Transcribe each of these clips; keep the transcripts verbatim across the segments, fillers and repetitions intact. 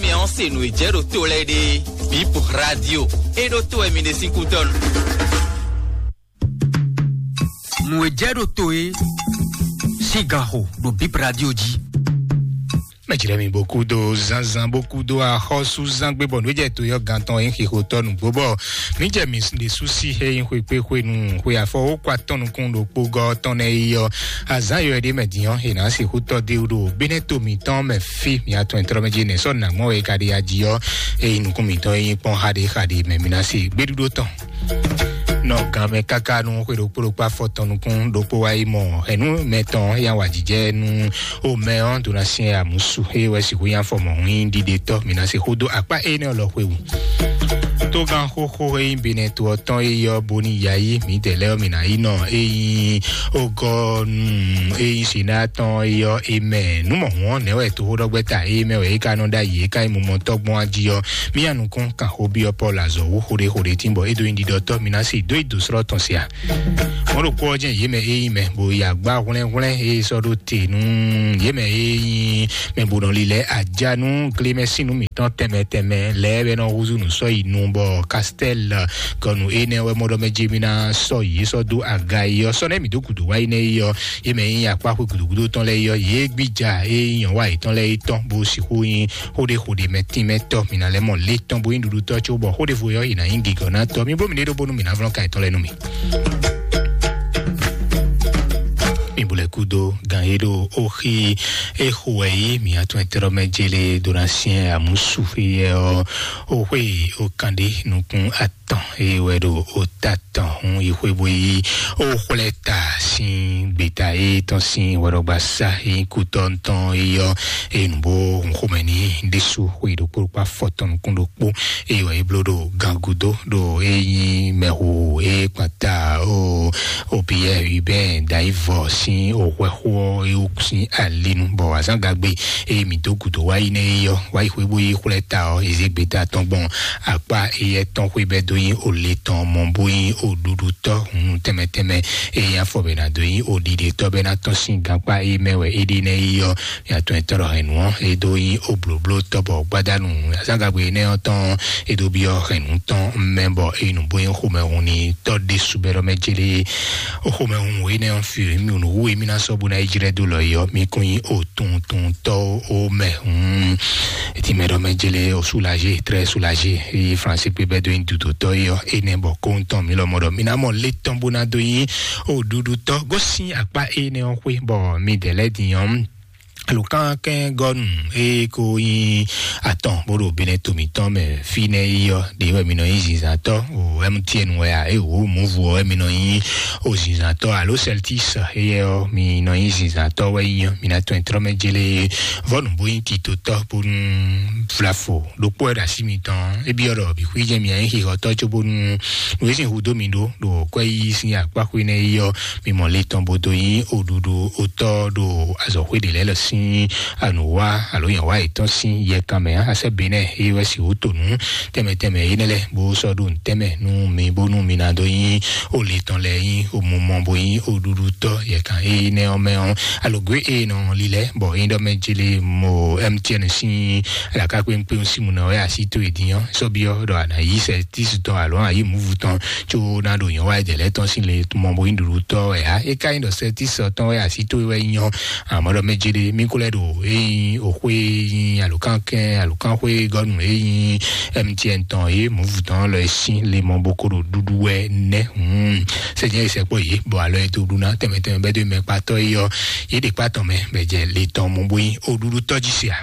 Mɛ ɔ́ se nǔ e jɛ ɖo to lɛ́ɛ ɖe. Bip Radio. E ɖo to wɛ mi ɖe sín kútɔ́nu. Nǔ e jɛ ɖo to e sín ganxo ɖo Bip Radio jí. Mɛ jlɛ́ mi bó kúdó zánzán bó kúdó axɔ́súzángbe bɔ nǔ e jɛ to yɔ gantɔn e xixo tɔ́ nǔgbó bɔ mǐ jɛ mǐ ɖésú sí he nyí xwekpéxwenu xwe afɔ wó kɔ atɔn nukún ɖokpó gɔ́ tɔn nɛ́ yi ɔ́. Azǎn yɔ ɖé mɛ din ɔ́, è nǎ sixú tɔ́ dé ɖo bínɛ́ to mǐtɔn mɛ fí mǐ atɔn e tlɔ́ mɛ jí nɛ̌ sɔ́ nǎ gbɔn wɛ è ka ɖe ají ɔ́, é nyí nukún mǐtɔn e nyí kpɔ́n xaɖé xaɖé mɛ mǐ ná se gbéɖúɖó tɔn. Nɔ gan mɛ káká nú xwe ɖokpó ɖokpó afɔ tɔn nukún ɖokpó wá yi mɔ hɛ̌nnu mɛ tɔn ya wa jijɛ nú o mɛ ɔ́ ɖo ná syɛ́n amǔsu é wɛ sixú nyí afɔ mɔ̌hún nyí ɖiɖetɔ́ mǐ ná se xó dó akpá énɛ́ lɔ xwe wú. Tógán xóxó e nyí Benɛ́ to ɔ́ tɔn é yɔ bóní yayí mǐdɛɛ lɛ́ɛ ɔ́ mǐ ná yi nɔ é nyí ogɔ́nu é nyí Sina tɔn é yɔ é mɛ nǔ mɔ̌hún ɔ́ nɛ̌ wɛ toxóɖɔgbɛ́ta é mɛ wɛ é ka nɔ ɖ'ayǐ é ka nyí mumɔtɔ́ gbɔn ají ɔ́. Mía nukún kan xó byɔ́ Pɔ́lu azɔ̌ wú xóɖéxóɖé tín bɔ é dó nyí ɖiɖɔtɔ́ mǐ ná se dó yi dǒ slɔ́ tɔn se a? Mɔ̌ ɖokpó ɔ́ jɛ́n yě mɛ e nyí mɛ bo yi agbá hwlɛ́nhwlɛ́n e sɔ́ ɖó te nú yě mɛ e nyí mɛ bo nɔ lilɛ aja nú glémɛsínu mǐtɔn tɛnmɛ tɛnmɛ lɛ́ɛ wɛ nɔ húzú nǔ sɔ́ yi nu bɔ Kastɛ́l gɔnu énɛ́ wɛ mɔ ɖɔ mɛ jɛ mí ná sɔ́ yě sɔ́ dó aga yi ɔ́ sɔ́ nɛ́ mǐ dó gǔdo wá yi nɛ́ yi ɔ́, yě mɛ e nyí akpáxwé gǔdúgúdú tɔn lɛ́ɛ yi ɔ́, yě gbíja e nyí nyɔ̌wa yětɔn lɛ́ɛ yi tɔn bó sixú nyí xóɖéxóɖé mɛ tínmɛtɔ́ mǐ ná lɛ́ mɔ lě tɔn bó nyí ɖuɖutɔ́ có bɔ xóɖévo ɔ́ yě ná nyí gǐgɔ́nátɔ́. Mi bló mi ɖé ɖó bónú mǐ ná vlɔ́n kan yětɔn lɛ́ɛ nú mi. Mi bu lɛ́ kúdó gan e ɖo oxi e xo wɛ yí mǐ atɔn ɛtɛ́ɖɔ́ mɛ jélé dó ná syɛ́n amǔsufeyɛ ɔ́, oxwé o kan ɖé nukún atɔn e wɛ ɖo o ta tɔn hun yi xwé bó yí o xwlɛ ta sín gbeta e tɔn sín wɛɖɔgba sa e nyí kutɔ́ tɔn e yɔ e nǔ bó hun xomɛ ní ɖésú xwe ɖokpó ɖokpó afɔtɔn nukún ɖokpó. Eye wɛ é bló ɖo gangudo ɖo é nyí mɛhu e kpata o o Pierre Hubert Daivɔ sín o hwɛxó ɔ́ é wú sín alinu bɔ azán gagbe e mǐ dó gǔdo wá yi nɛ́ é yɔ wá yi xwé bó yi xwlɛ ta ɔ́, é zé gbeta tɔn gbɔn akpá éyɛ́ tɔn xwé bɛ́ dó nyí o le tɔn mɔ bó nyí o ɖuɖutɔ́ hun tɛnmɛ tɛnmɛ e nyí afɔ bɛ ná dó nyí o ɖiɖetɔ́ bɛ́ ná tɔ́n sín gankpá é mɛ wɛ é ɖi nɛ́ é yɔ. Mia tɔn e tɔ́ ɖɔ hɛn nǔ ɔ́, é dó nyí o blǒbló tɔ́ bɔ gbádanu azán gagbe énɛ́ ɔ́ tɔn é dó byɔ́ hɛn nǔ tɔn mɛ bɔ é nǔ bó nyí xomɛhun ní tɔ́ ɖésú bɛ́ ɖɔ mɛ jélé. O xomɛhun énɛ́ ɔ́ fi mì nǔ wú émí ná sɔ́ bó ná yi jlɛ́ dó lɔ yi ɔ́, mì kún nyí o tuntuntɔ́ o mɛ hun. Etí mɛ ɖɔ mɛ jélé o soulagé, très soulagé. Eye Fransé kpé bɛ́ dó nyí dudotɔ́ yi ɔ́, énɛ́ bɔ kóńtɔn mi lɔ mɔ ɖɔ mi ná mɔ lé tɔn bó ná dó nyí o ɖuɖutɔ́ gosín akpá énɛ́ ɔ́ xwé bɔ mi dɛ̌ lɛ́ din ɔ́. Alukán kɛn gɔnu e ko nyi atɔn bó ɖo Benɛ to mǐtɔn mɛ fínɛ́ yi ɔ́, ɖě wɛ mi nɔ nyi zinzantɔ́ o M T N wɛ a, e wǒ Movu ɔ́ wɛ mi nɔ nyi o zinzantɔ́ alo Celtics, eyɛ ɔ́ mi nɔ nyi zinzantɔ́ wɛ nyi ɔ́, mi ná tɔn trɔ́ mɛ jélé vɔ́nu bó nyí titotɔ́ bónú vlafo ɖokpó wɛ ɖo así mitɔn. É byɔ́ ɖɔ bǐ xwíjɛ mi anyí xixɔtɔ́ cóbónú nǔ e sín hudó mi ɖó ɖo kwɛ́ yíyí sín akpá xwé nɛ́ yi ɔ́, mi mɔ le tɔn bó dó nyí oɖuɖu otɔ́ ɖo azɔ̌xwé ɖě lɛ́ɛ lɔ sín anǔwá alo nyɔ̌wá yětɔn sín yɛkan mɛ ǎ. Asɛ́ Benɛ́ é wɛ sixú to nǔ tɛnmɛ tɛnmɛ énɛ́ lɛ́ɛ bó sɔ́ ɖo nǔ tɛnmɛ nú mi bónú mi ná dó nyí o le tɔn lɛ́ɛ nyí o mumɔ bó nyí oɖuɖutɔ́ yɛkan énɛ́ ɔ́ mɛ ɔ́. Alɔgwé e nɔ lilɛ bɔ é ɖɔ mɛ jele mo M T N sín alaka kpéŋkpéŋ sín mu nɔ wɛ asi tó e din ɔ́ sɔ́ byɔ́ ɖɔ a nǎ yí sɛ tísi tɔn alo a yí muvu tɔn tso ná ɖo nyɔ̌ wá jɛ lɛ́ tɔn sín le mɔ bo nyí ɖuɖu tɔ́ wɛ ǎ. É ka nyí ɖɔ sɛ tísi tɔn wɛ asi tó wɛ nyɔ àmọ́ ɖɔ mɛ jele mí kó lɛ ɖo é nyí òxwé nyí alukán kɛn alukán xwé gɔnu é nyí M T N tɔn é muvu tɔn lɔ é sín le mɔ bo ko ɖo ɖuɖu wɛ nɛ. Hmm. Sɛ nyɛ sɛ kpɔ yé bɔ alɔ yɛ to ɖu ná tɛmɛ tɛmɛ bɛ do mɛ kpatɔ yi yɔ yé ɖe kpatɔ mɛ bɛ jɛ le tɔn mɔ bó yi o ɖuɖu tɔji sia.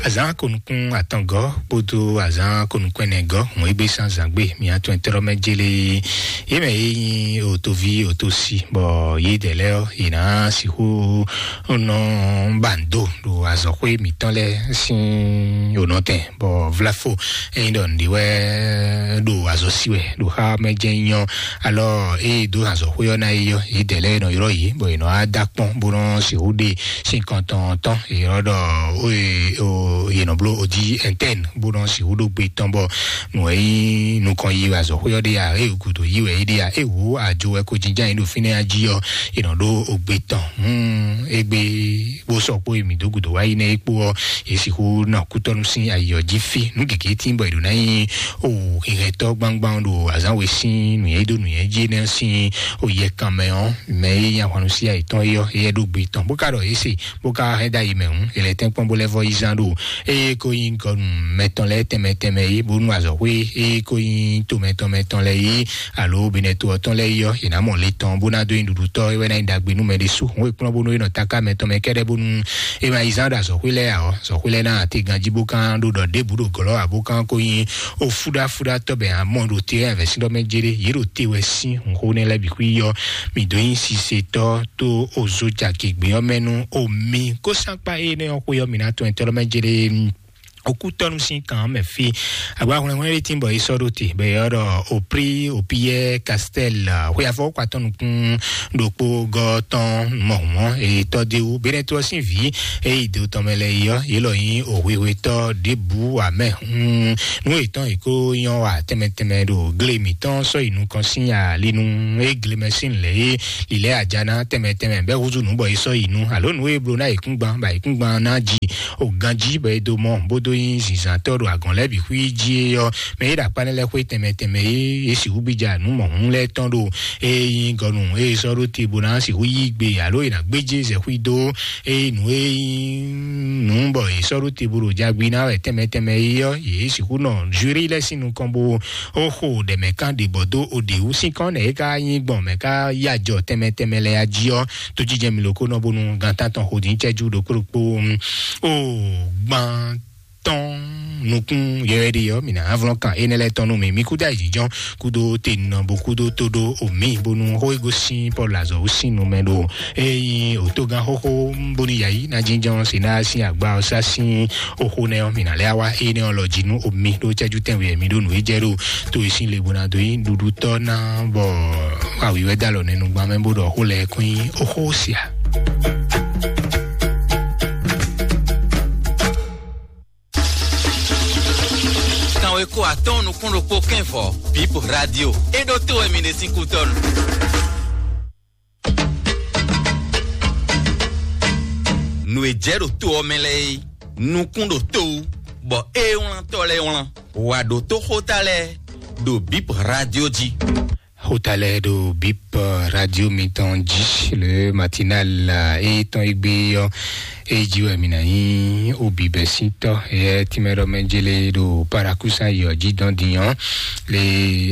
Azan konukun atɔngɔ kpodo azan konukun ɛnɛgɔ ŋun egbe san zangbe mi atɔn tɔrɔ mɛ jele yé mɛ yé nyi otovi otosi bɔ yé dɛ lɛ yé na sihu nɔ bando do azɔxwé mǐtɔn lɛ́ɛ sín onɔtɛn, bɔ vlafo ényí ɖɔ nǔɖé wɛ ɖo azɔ sí wɛ ɖo xá mɛ jɛ́n nyɔ alɔ ée dó azɔxwé ɔ́ ná yi ɔ́, yě dɛ lɛ́ɛ nɔ yrɔ́ yě, bɔ yě nɔ wá dó akpɔ́n bó nɔ sixú ɖe sín kɔntɔn tɔn, yě nɔ ɖɔ yě nɔ bló ojí ɛntɛn bó nɔ sixú ɖó gbe tɔn, bɔ nǔ wɛ nyí nukɔn yi wɛ azɔxwé ɔ́ ɖe ya, ée gǔdo yi wɛ é ɖe ya, é wǔ ajo wɛ ko jínjɔ́n ayǐ ɖo fínɛ́ jí ɔ́, è nɔ ɖó ogbe tɔn. Hmm, égbé bó sɔkpó e mǐ dó gǔdo wá yi nɛ́ é kpó ɔ́, è sixú nɔ kútɔ́nú sín ayǐ ɔ́ jí fí. Nǔ gěgé tín bɔ è ɖǒ ná nyí o hɛhɛtɔ́ gbangban ɖo azǎn we sín nǔnywɛ́ dó nǔnywɛ́ jí énɛ́ sín o yɛ kan mɛ ɔ́, mɛ e nyí ahwannu sí ayǐ tɔn é ɔ́, éyɛ́ ɖó gbe tɔn, bó ka ɖɔ é se, bó ka hɛn dó ayi mɛ hǔn, è lɛ́ tɛ́nkpɔ́n bó lɛ́ vɔ yi zán ɖo eye ko nyí gɔnu mɛtɔn lɛ́ɛ tɛnmɛ tɛnmɛ é, bónú azɔ̌xwé eye ko nyí to mɛtɔn mɛtɔn lɛ́ɛ é, alo benɛto ɔ́ tɔn lɛ́ɛ é ɔ́, è nǎ mɔ le tɔn bó ná dó nyí ɖuɖutɔ́, é wɛ ná nyí ɖagbe nú mɛ ɖésú. Hǔn e kplɔ́n bónú é nɔ taká mɛtɔn mɛ kɛ́ɖɛ́ bónú é ma yi zán ɖo azɔ̌xwé lɛ́ɛ ǎ ɔ́, azɔ̌xwé lɛ́ɛ ná atígan jí bó kán ɖó ɖɔ ɖěbǔ ɖo gɔ̌lɔ́ ǎ, bó kán ko nyí o fúɖáfúɖá tɔ́ bɛ amɔ ɖo te wɛ vɛ̌sín ɖɔ mɛ jéré, yě ɖo te wɛ sín hǔnxó nɛ́ lɛ́ɛ bǐ xwí ɔ́, mǐ dó nyí sisetɔ́ tó ozo caki gbě ɔ́ mɛ nú o mi kó sánkpá énɛ́ ɔ́ xwé ɔ́, mǐ ná tɔn ɛtɛ́ lɔ mɛ jéré. Okútɔ́nú sín kan ɔ́ mɛ fí. Agba hwlɛ́nhwlɛ́n ɖé tín bɔ é sɔ́ ɖó te bɔ é ɔ́ ɖɔ oprí opiyɛ kastɛl xwe afɔwɔkpa tɔn nukún ɖokpó gɔ́ tɔn mɔhunmɔ etɔ́ déwu benɛto ɔ́ sín vǐ eyi do tɔn mɛ lɛ yi ɔ́, yě lɔ nyí òhwehwetɔ́ ɖěbǔ amɛ. Nú yětɔn yě kó nyɔ́ wa tɛnmɛ tɛnmɛ ɖo gle mǐtɔn sɔ́ yi nukɔn sín ali nú é gle mɛ sín lɛ̌ é lǐlɛ́ aja ná tɛnmɛ tɛnmɛ bɛ́ húzú nǔ bɔ é sɔ́ yi nú, alo nǔ e bló ná yěkúngban bɔ yěkúngban ná ji o ganjí bɔ é dó mɔ bó dó nyí zǐnzǎntɔ́ ɖo agɔ̌n lɛ́ɛ bǐ xwí jí é ɔ́, mɛ é ɖo akpá nɛ́ lɛ́ɛ xwé tɛnmɛ tɛnmɛ é é sixú gbija nǔ mɔ̌hun lɛ́ɛ tɔn ɖo é nyí gɔnu é sɔ́ ɖó te bó ná sixú yí gbe alo è nǎ gbéjé zɛxwí dó é nǔ é nyí nǔ bɔ è sɔ́ ɖó te bó ɖo jagbi ná wɛ tɛnmɛ tɛnmɛ é ɔ́, yě sixú nɔ zwirí lɛ́ɛ sín nukɔn bó ó xo ɖɛ̌mɛ̌kan ɖě bɔ dó o ɖě wú sín kɔn nɛ é ka nyí gbɔn mɛ ká yá jɔ tɛnmɛ tɛnmɛ lɛ́ɛ jí ɔ́, tó jijɛ mi loko nɔ bónú gantán tɔn xo dín cɛjú ɖokpó ɖokpó. O gban tɔn nukún yɔyɔ ɖi ɔ́, mǐ ná vlɔ́n kan énɛ́ lɛ́ɛ tɔn nú mi. Mi kúdó ayǐjínjɔ́n kúdó tenɔ bó kúdó tó ɖó omi bónú xó e gosín Pɔ́lu azɔ̌ wú sín nu mɛ ɖo ényí òtógán xóxó bónú yǎyí ná jínjɔ́n Senáa sín agbá ɔ́ sá sín oxó nɛ́ ɔ́, mǐ ná lɛ́ wá énɛ́ ɔ́ lɔ jí nú omi ɖó cɛ́jú tɛnwe mi ɖó nǔ e jɛ ɖo tó e sín le bó ná dó nyí ɖuɖutɔ́ ná bɔ awǐ wɛ dó alɔ nɛ́ nugban mɛ bó ɖɔ xó lɛ́ɛ kɔn nyí oxó sia. Kanwe ko atɔ́ɔ́n nukún ɖokpó kɛ́n vɔ̌, Bip Radio. É ɖó tó wɛ mi ɖe sín kútɔ́nu. Nǔ e jɛ ɖo to ɔ́ mɛ lɛ́ɛ é, nukún ɖo to wú, bɔ é wlántɔ́ lɛ́ɛ wlán. Wǎ ɖó tó xóta lɛ́ɛ ɖo Bip Radio jí. Xóta lɛ́ɛ ɖo Bip Radio mitɔn jí, le matinal e tɔn e gbé ɔ́, e jí wɛ mi ná nyí obibɛsítɔ. Yɛ tìmɛ ɖɔ mɛ jele ɖo Parakusa yɔ jí dɔn dinyɔ le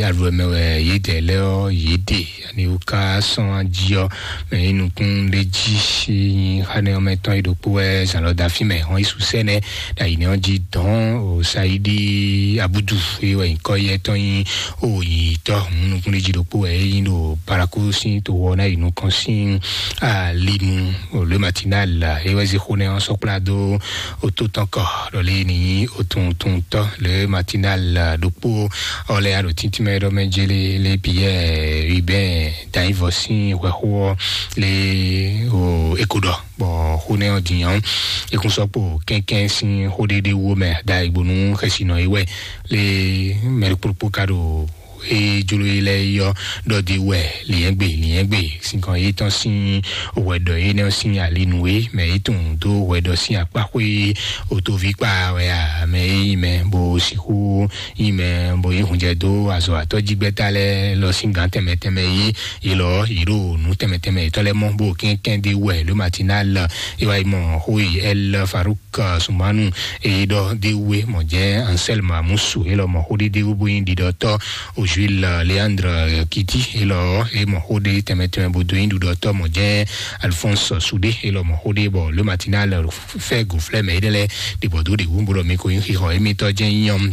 aɖu mɛ wɛ yě dɛ lɛ ɔ́ yě ɖe ani wò ká sɔn jí ɔ́, mɛ yi nukún ɖe jí nyi xanɛ ɔ́ mɛ tɔn yi ɖokpó wɛ zan lɔ da fí mɛ hɔn yi susɛnɛ ɖo ayi nɛ ɔ́ jí dɔn o Saidi Abudu e wɛ nyikɔ yɛ tɔn nyi o yi tɔ nukún ɖe jí ɖokpó wɛ e nyi ɖo Paraku sín to wɔ ná yi nukɔn sín ali nu. O le matinal e wɛ zi xo nɛ ɔ́ sɔkpla dó o tó tɔn kɔ ɖɔ le ni nyi o tun tun tɔ le matinal ɖokpó ɔ lɛ alo tíntín mɛ ɖɔ mɛ jele le Pierre Hubert Danyivɔ sín hwɛxó ɔ́ le o eko ɖɔ bɔ xó nɛ ɔ́ din ɔ́, ekún sɔkpo kɛnkɛn sín xó ɖéɖé wó mɛ da igbónú xɛsinɔ yi wɛ le mɛ ɖokpóɖokpó ka ɖo e jló yi lɛ yi ɔ́ ɖɔ di wɛ liɛ́ngbe liɛ́ngbe sinkɔn yi tɔn sín hwɛɖɔ yi nɛ sín ali nú we mɛ yi tún dó hwɛɖɔ sín akpáxwé otoví kpa wɛ a mɛ yi mɛ bó sixú yi mɛ bó yi hunjɛ dó azɔ atɔ́jígbɛ́ta lɛ lɔ sín gǎn tɛnmɛ tɛnmɛ yi yi lɔ yi ɖo nǔ tɛnmɛ tɛnmɛ yětɔn lɛ mɔ bó kɛnkɛn di wɛ ló matinal e wa yi mɔ xó yi ɛl Farouk Sumanu e ɖɔ de we mɔ jɛ Anselme Amusu e lɔ mɔ xó ɖe de wo bo nyi ɖiɖɔtɔ Ojil Leandre Kiti e lɔ e mɔ xó ɖe tɛnmɛ tɛnmɛ bo do nyi ɖiɖɔtɔ mɔ jɛ Alphonse Soudé e lɔ mɔ xó ɖe bɔ le matinal fɛ goflɛ mɛ e ɖe lɛ ɖibɔ do ɖe wu bo ɖɔ mi ko nyi xixɔ emitɔ jɛ nyɔm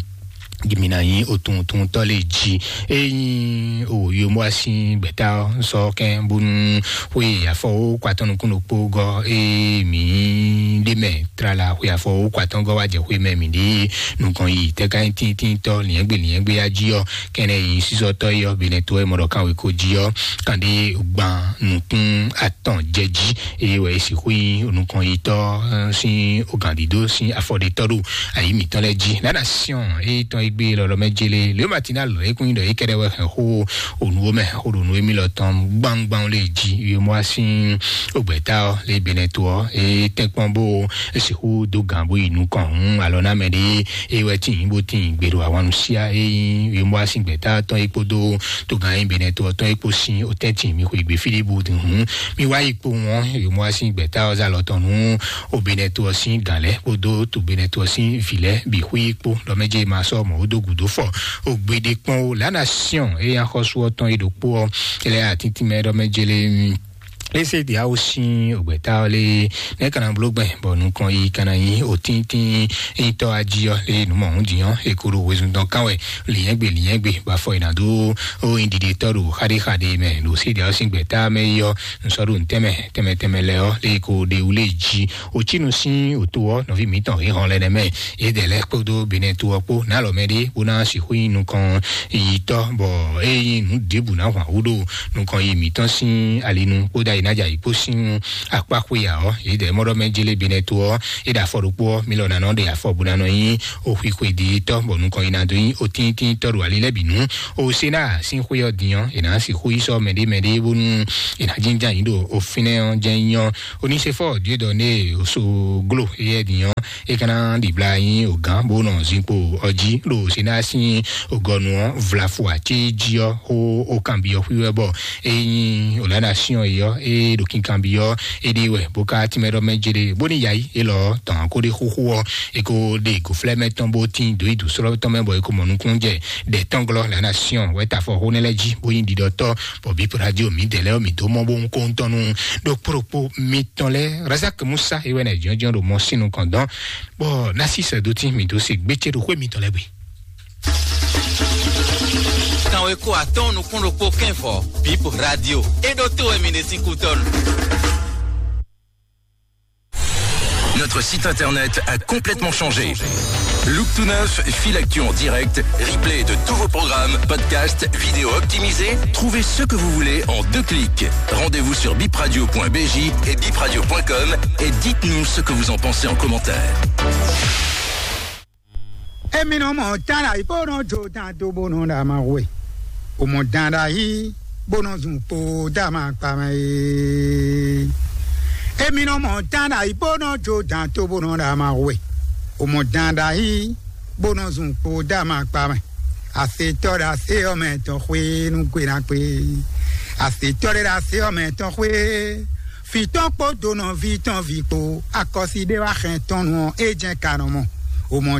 Jimi na nyi otuntuntɔ le ji. Eyin o yomo asi gbɛta sɔ kɛn bonu xwe afɔ o kwatɔ nukun ɖokpo gɔ e mi de mɛ trala xwe afɔ o kwatɔ gɔ wa jɛ xwe mɛ mi de nukɔn yi tɛka tintintɔ liɛngbe liɛngbe ya ji ɔ kɛnɛ yi sisɔtɔ yi ɔ benɛ to ɛ mɔ ɖɔ kan we ko ji ɔ kan de gban nukun atɔn jɛ ji. Eye wɛ esi xwe nukɔn yi tɔ sin ogandido sin afɔɖetɔ ɖo ayi mitɔn lɛ ji. Nana siɔn eye tɔn egbe lɔlɔ mɛ jele leo matina lɔ ekun yi ɖɔ yi kɛɖɛ wɛ hɛn xo onu wo mɛ xo ɖo nu emi lɔ tɔn gbangban le ji. Yomɔ asin ogbɛta ɔ le benɛ to ɔ e tɛnkpɔn bo esixu do gan bo yi nukɔn hun alɔ na mɛ ɖe eye wɛ tin bo tin gbero awanu sia eyi yomɔ asin gbɛta tɔn yi kpodo to gan yi benɛ to ɔ tɔn yi kpo sin o tɛntin mi xwe gbe filibu hun mi wá yi kpo wọn yomɔ asin gbɛta ɔ zalɔ tɔn nu o benɛ to ɔ sin gan lɛ kpodo to benɛ to ɔ sin vi lɛ bi xwe yi kpo lɔ mɛ jɛ ma sɔ mɔ o do gudo fɔ o gbede kpɔn o la nation eya xɔsu ɔ tɔn yi ɖokpo ɔ ele atintin mɛ ɖɔ mɛ jele ese de awo sin ogbɛta ɔ le ne kana blo gbɛ bɔ nukɔn yi kana yi o tintin yin tɔ aji ɔ le numɔ hun diyan e ko ɖo wezun dɔn kan wɛ linyɛgbe linyɛgbe ba fɔ yina do o yin didi tɔ ɖo xaɖe xaɖe mɛ ɖo se de awo sin gbɛta mɛ yi ɔ nsɔ ɖo ntɛmɛ tɛmɛ tɛmɛ lɛ ɔ le ko ɖe wule ji o tinu sin o to ɔ nɔvi mitɔn he hɔn lɛ nɛ mɛ ye dɛ lɛ kpodo benɛ to ɔ kpo nalɔ mɛ ɖe bo na sixu yin nukɔn yi tɔ bɔ e yin nu ɖebu na hwan wu ɖo nukɔn yi mitɔn sin alinu kpódó ayinájà yìí kpó sín akpá xwéya ɔ́ yědɛɛ mɔɖɔ mɛ jélé benɛ to ɔ́ é ɖo afɔ ɖokpó ɔ́ mi lɔ nanɔ ɖe afɔ bó nanɔ nyí oxwi xweditɔ bɔ nukɔn yi na dó nyí otíntínítɔ ɖo ali lɛ́ bǐ nú osena sín xwé ɔ́ din ɔ́ è nǎ sixú yi sɔ́ mɛɖé mɛɖé bónú è nǎ jínján yǐ ɖo ofínɛ́ ɔ́ jɛ́n nyí ɔ́ onísefɔ diodɔ ne oso glo éyɛ́ din ɔ́ é ka ná ɖibla nyí ògán bó nɔ zinkpo ɔjí ɖo sena sín ògɔnu ɔ́ vlafu atíjí ɔ́ xó ó kanbyɔ́ xwíwɛ bɔ é nyí òlánà síɔn é ɔ́ é ɖo kinkanbyɔ́ é ɖi wɛ bó ká tínmɛ ɖɔ mɛ jede bó ní yayi é lɔ tɔn kó ɖe xóxó ɔ́ é kó ɖe gǒflɛ́ mɛ tɔn bó tín dǒ yi dǒ slɔ́ tɔn mɛ bɔ é kó mɔ nukúnnú jɛ ɖɛ tɔn glɔ́ lánà síɔn wɛ ta fɔ xó nɛ́ lɛ́ jí bó nyí ɖiɖɔtɔ́ bɔ bí radio mi dɛ lɛ mi dó mɔ bó ń kó ń tɔnu ɖokpó ɖokpó mi tɔn lɛ razak musa ewɛ nɛ jɔnjɔn ɖo mɔ sínu kɔn dɔn bɔ nasi sɛ do tí mi dó se gbétsé ɖo xwé mi tɔn lɛ gbe. Kanwe ko atɔn nukún ɖokpó kɛn fɔ bip radio eɖo to wɛ mi ɖe sín kútɔnu. Notre site internet a complètement changé. Look to neuf, fil actu en direct, replay de tous vos programmes, podcasts, vidéos optimisées. Trouvez ce que vous voulez en deux clics. Rendez-vous sur bipradio point B J et bipradio point com et dites-nous ce que vous en pensez en commentaire. Emi nɔ mɔ tán ɖa yi bó nɔ jo tán tó bó nɔ ɖa ma hwe. O mɔ tán ɖa yi bó nɔ zun kpo dá ma kpa mɛ ye. Emi nɔ mɔ tán ɖa yi bó nɔ jo tán tó bó nɔ ɖa ma hwe. O mɔ tán ɖa yi bó nɔ zun kpo dá ma kpa mɛ. Asetɔ ɖe ase ɔmɛ tɔn xwe nu gbe na gbe. Asetɔ ɖe ɖe ase ɔmɛ tɔn xwe. Fitɔn kpo donɔ vi tɔn vi kpo akɔsi ɖe wa xɛn tɔn nu ɔ e jɛ ka nɔ mɔ. O mɔ